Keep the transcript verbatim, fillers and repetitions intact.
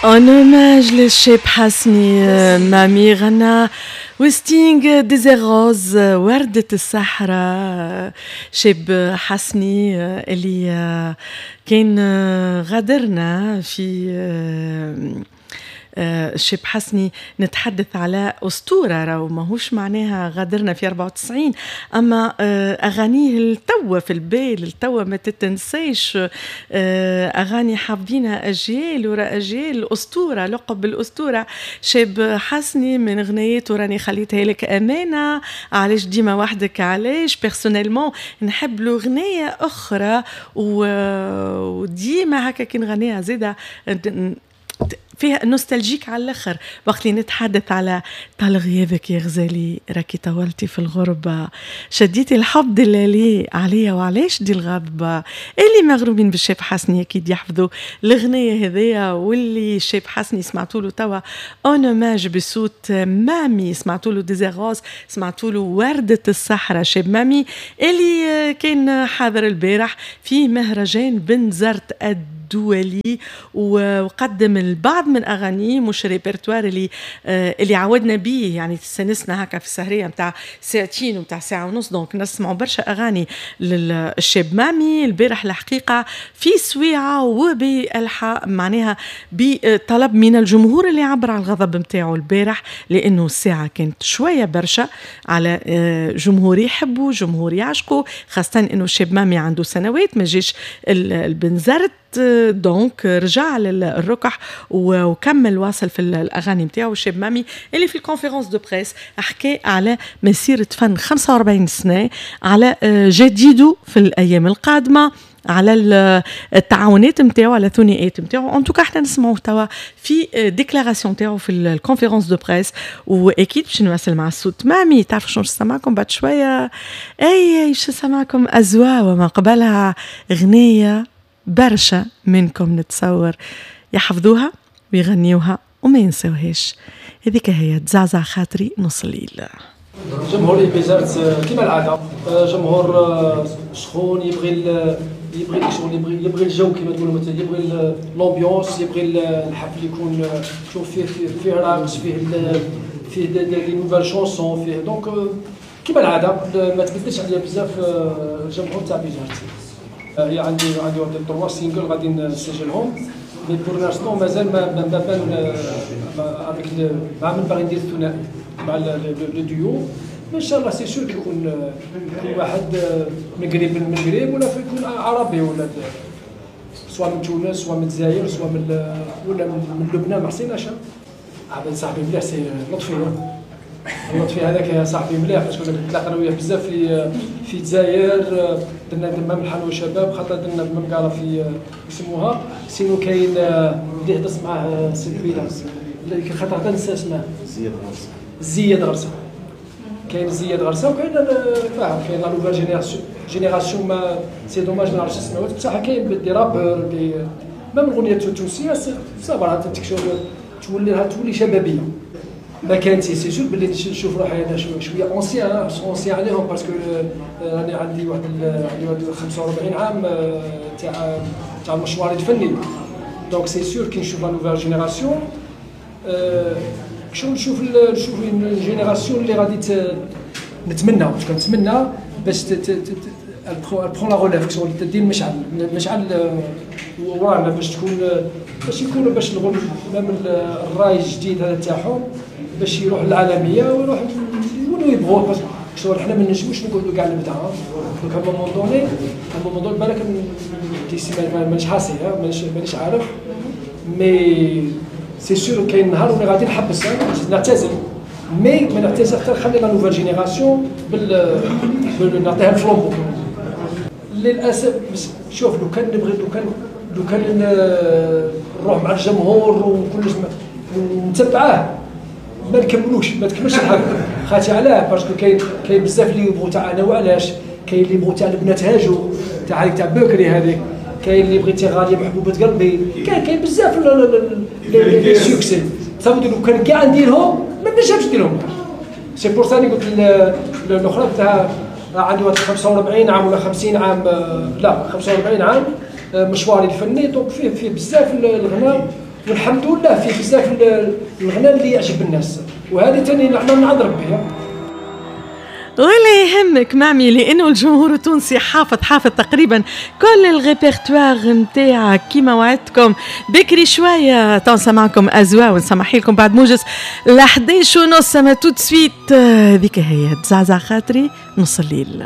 en hommage للشاب حسني، مامي غنى وستينغ Désert Rose، وردة الصحراء. شاب حسني اللي كان غادرنا في الشاب حسني، نتحدث على أسطورة، راهو ماهوش معناها غادرنا في أربعة وتسعين، أما آه، أغانيه التوا في البال، التوا ما تتنساش، آه، أغاني حافظينها أجيال وراء أجيال. أسطورة، لقب بالأسطورة شاب حسني. من غنيته راني خليتها لك أمانة، علاش ديما وحدك علاش. personnellement نحب له غنية أخرى وديما هكا كي نغنيها زيادة فيها nostalgique على الاخر، وقت اللي نتحدث على طال غيابك يا غزالي، راكي طولتي في الغربة، شديتي الحب دلالي عليا وعلاش دي الغضبة. اللي مغرومين بالشاب حسني اكيد يحفظوا الغنية هذيا. واللي الشاب حسني سمعتوا له توا en hommage بصوت مامي، سمعتوا له Désert Rose، سمعتوا له وردة الصحراء. شاب مامي اللي كان حاضر البارح في مهرجان بنزرت الدولي وقدم البعض من اغانيه، مش ريبرتوار اللي آه اللي عودنا به، يعني تستانسنا هكا في السهريه نتاع ساعتين ومتاع ساعة ونص، donc نسمعوا برشا اغاني للشاب مامي. البارح الحقيقة في سويعه وبالحق معناها بطلب من الجمهور اللي عبر على الغضب نتاعو البارح، لانه الساعة كانت شوية برشا على آه، جمهور يحبوا، جمهور يعشقوا، خاصة انه الشاب مامي عنده سنوات ما جاش البنزرت، donc رجع للركح وكمل واصل في الاغاني نتاعو. شاب مامي اللي في ال conférence de presse حكى على مسيره فن خمسة وأربعين سنه، على آه، جديدة في الايام القادمه، على التعاونات نتاعو، على الثنائيات نتاعو. en tout cas احنا نسمعوه توا في déclaration تاعو في ال conférence de presse، واكيد باش نواصل مع الصوت مامي. تعرفوا شنو نسمعكم بعد شويه؟ اي اي، شو نسمعكم؟ ازوا، وما قبلها غنية برشا منكم نتصور يحفظوها ويغنيوها وما ينسوهاش، هذيك هي تزعزع خاطري نص الليل. جمهور بنزرت كما العاده، جمهور سخون، يبغي يبغي شغل، يبغي يبغي الجو كما تقولوا مثلا، يبغي l'ambiance، يبغي الحفل يكون شوف فيه فيه, فيه رقص، فيه فيه des nouvelles chansons فيه. donc كما العادة ما تبدلش عليا بزاف الجمهور تاع بنزرت. هي عندي عندي واحد trois singles غادي نسجلهم، mais pour l'instant مازال ما ما بان avec مع من باغي ندير الثنائي، مع le duo. ان شاء الله c'est sûr يكون يكون واحد من قريب، من المغرب ولا يكون عربي، ولا soit من تونس، soit من الجزائر، soit من ولا من لبنان، ما حسيناش. عبد صاحبي مليح c'est لطفي، لطفي هذاك صاحبي مليح، parce que تلاقينا وياه بزاف في في الجزائر، درنا درنا من الحلوى شباب، خاطر درنا بمقالة في يسموها. sinon كاين اللي هدرت معاه سي كبيرة، خاطر حتى نسى اسمه. زياد غرسه. زياد غرسه، كاين زياد غرسه وكاين فاهم، كاين la nouvelle génération génération mais c'est dommage ما نعرفش اسمه، بصح كاين des rappeurs، des même الاغنية التونسية ça va تولي تولي شبابيه. ما كانت c'est sûr باللي نشوف روحي انا شوية ancien ancien عليهم، parce que راني عندي واحد عندي واحد خمسة وأربعين عام تاع تاع المشوار الفني. donc c'est sûr كي نشوف la nouvelle génération، شو نشوف نشوف génération اللي غادي نتمنى نتمنى باش prend la relève، شغل تدي المشعل المشعل ورانا، باش تكون باش يكونوا باش même الراي الجديد هذا تاعهم باش يروح للعالمية ويروح يولوا يبغوه، parce que شغل حنا ما نجموش نقعدوا كاع نبدا. donc à un moment donné à un moment donné بالك d'ici مانيش حاسي، مانيش مانيش عارف، mais c'est sûr كاين نهار وين غادي نحبس، نعتزل، mais ما نعتزل حتى نخلي la nouvelle génération بال نعطيها ال flambeau. للاسف شوف، لو كان نبغي، لو كان لو كان نروح مع الجمهور وكلش ونتبعه ما نكملوش، ما تكملش الحفلة. خاطر علاه؟ parce que كاين كاين بزاف اللي يبغوا تاع انا وعلاش، كاين اللي يبغوا تاع البنات هاجو، تاع هذيك تاع بكري هذيك، كاين اللي بغيتي غالية محبوبه قلبي، كاين كاين بزاف les succès. صافي لو كان كاع نديرهم ما نجمش نديرهم. c'est pour ça قلت الاخرى تاع عندي واحد خمسة وأربعين عام ولا خمسين عام، لا، خمسة وأربعين عام مشواري الفني، donc فيه فيه بزاف الغناء. والحمد لله فيه بزاف الغناء اللي يعجب الناس، وهذه ثاني نعمه من عند ربي. ولا يهمك مامي، لانه الجمهور التونسي حافظ حافظ تقريبا كل الريبرتوار نتاعك. كيما وعدتكم بكري شوية تو نسمعكم ازوا ونسمح لكم بعد موجز ل إحداش ونص. ما tout de suite ذيك هي تزعزع خاطري نص الليل.